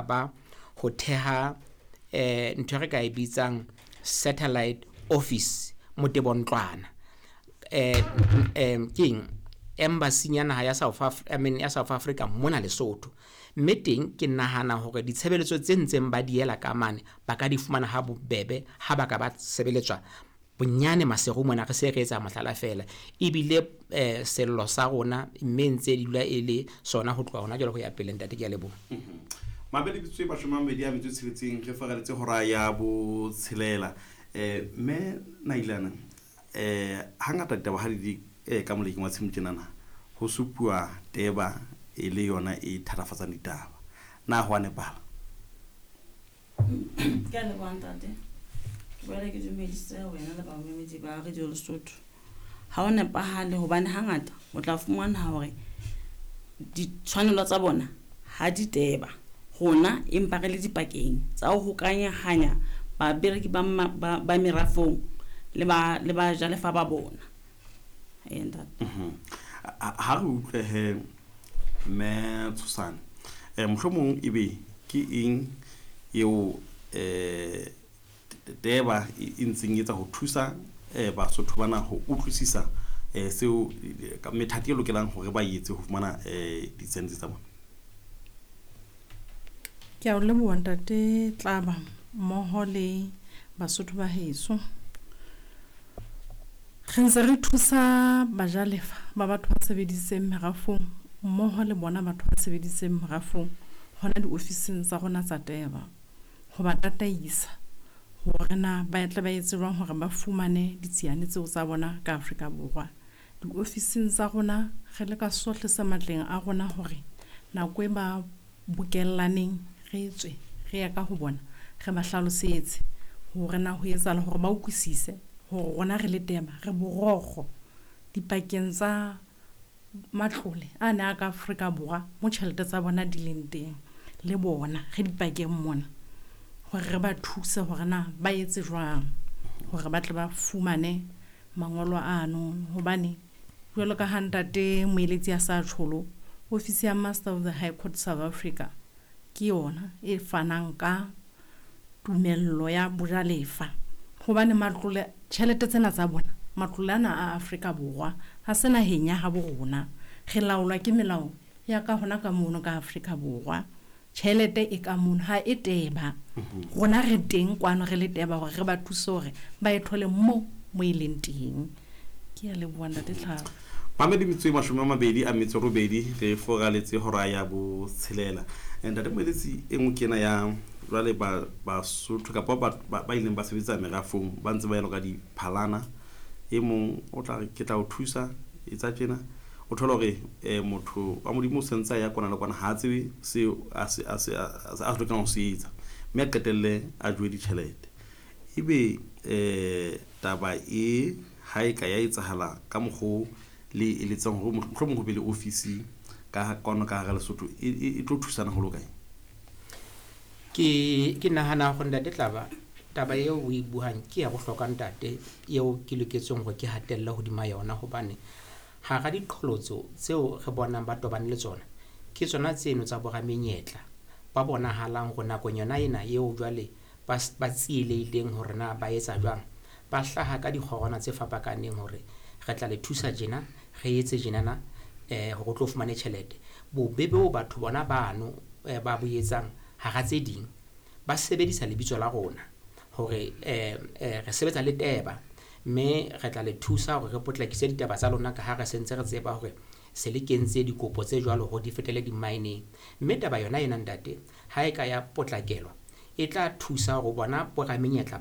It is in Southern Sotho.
Ba ho theha ntho e re ka e bitsang satellite office motebontlwana, keng embassy ya naha ya South I mean ya South Africa mona Lesotho. Mme teng ke nahana hore ditshebeletso tse ntseng ba di ela ka mane ba ka di fumana ha bobebe ha ba ka ba sebeletswa bonyane Maseru mona, re se re etsa mohlala feela. Ebile sello sa rona mme ntse di dula e le sona ho tloha hona jwale ho ya pele. Ntate, ke a leboha. Mabedi bitswe 26 re faraletse hora ya botshelela. Mme Nailana, hangata ditaba ha di le ka molekeng wa tshimo tjenana, ho supuwa teba e le yona e thatafatsang ditaba. Na ho a nepahala? Ke a leboha, ntate. Ke boela ke dumedise wena le bamamedi ba Radio Lesotho. Ha o nepahale hobane hangata o tla fumana hore ditshwanelo tsa bona ha di teba rona, empa re le dipakeng tsa ho hokahanya babereki ba merafong le bajalefa ba bona. Ee, ntate. Ha re utlwe he, mme Tshosane, mohlomong ebe ke eng eo teba e ntseng etsa ho thusa Basotho bana ho utlwisisa seo methati e lokelang hore ba etse ho fumana ditsente tsa bona? Ke a o leboha, ntate Tlaba, mmoho le Basotho ba heso. Re ntse re thusa bajalefa ba batho ba sebeditseng merafong mmoho le bona batho ba sebeditseng merafong hona diofising tsa rona tsa Teba, ho ba tataisa hore na ba tle ba etse jwang hore ba fumane ditsiane tseo tsa bona ka Afrika Borwa. Diofising tsa rona re leka sohle se matleng a rona hore nako e ba bokellaneng re tswe re ya ka ho bona, re ba hlalosetse hore na ho etsahala hore ba utlwisise hore rona re le Teba re borokgo dipakeng tsa matlole a ne a ka Afrika Borwa mo tjhelete tsa bona di leng teng, le bona re dipakeng mona hore re ba thuse hore na ba etse jwang hore ba tle ba fumane mangolo ano. Hobane jwalo ka ha ntate moeletsi a sa tjholo, ofisi ya Master of the High Court South Africa ke yona e fanang ka tumello ya bojalefa, hobane matlole tjhelete tsena tsa bona, matlole ana a Afrika Borwa, ha se naheng ya habo rona. Re laolwa ke melao ya ka hona ka mono ka Afrika Borwa. Tjhelete e ka mono, ha e Teba. Rona re teng kwano re le Teba hore re ba thuse hore ba e thole mo e leng teng. Ke a leboha, ntate Tlhaba. Mamedi metswe 28 re foraletse hora ya botshelela. Ntate moeletsi, e nngwe ke ena ya jwale ba Basotho kapa ba ileng ba sebetsa merafong ba ntse ba elwa ka diphalana. E mong o tla re ke tla o thusa, etsa tjena. O thola hore motho wa Modimo o sentse a ya kwana le kwana, ha a tsebe seo a se lokelang ho se etsa, mme a qetelle a jowe ditjhelete. Ebe taba e ha e ka ya etsahala ka mokgo le eletsang hore mohlomong ho be le ofisi ka kwano ka hara Lesotho, e tlo thusana ho lo kae? Ke nahana hore, ntate Tlaba, taba eo o e buang ke ya bohlokwa, ntate, eo ke loketseng hore ke hatelle hodima yona, hobane hara diqholotso tseo re bonang ba tobane le tsona ke tsona tseno tsa boramenyetla ba bonahalang hore nakong yona ena eo jwale ba tsielehileng hore na ba etsa jwang, ba hlaha ka dikgorwana tse fapakaneng hore re tla le thusa tjena, re etse tjenana hore o tlo fumane tjhelete. Bobebe bo batho bona bano ba bo etsang, hara tse ding ba sebedisa lebitso la rona hore re sebetsa le Teba mme re tla le thusa hore re potlakise ditaba tsa lona, ka ha re sentse re tseba hore se le kentse dikopo tse jwalo hore di fetele di-mineng. Mme taba yona ena, ntate, ha e ka ya potlakelwa, e tla thusa hore bona boramenyetla.